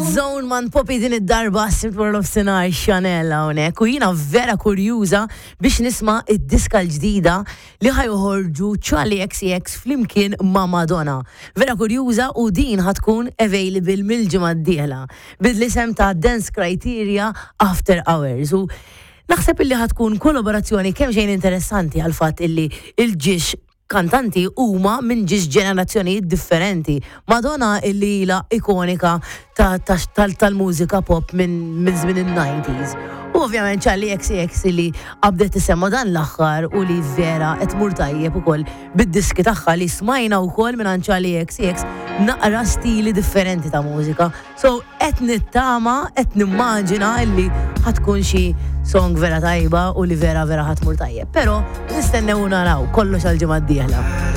Zone man Poppy din id-darba sibt wara nofsinhar Chanel hawnhekk u jiena vera kurjuża biex nisma' id-diska l-ġdida li ħa joħorġu Charli XCX flimkien ma' Madonna. Vera kurjuża u din ħa tkun available mill-ġimgħa d-dieħla bil-isem ta' Dance Criteria After Hours u naħseb illi ħa tkun kollaborazzjoni kemm xejn interessanti għal fatt illi il-ġiex kantanti huma minn ġiex ġenerazzjonijiet differenti. Madonna illi ilha ikonika tal-mużika pop minn żmien il-90s. U ovvjament Charli XCX illi qabdet tisemma dan l-aħħar u li vera qed tmur tajjeb ukoll bid-diski tagħha li smajna wkoll minn Charli XCX naqra stili differenti ta' mużika. So qed nittama, qed nimmaġina illi ħa tkun xi song vera tajba u li vera vera ħa tmur tajjeb. Però nistennew naraw kollox għal ġimgħa d-dieħla.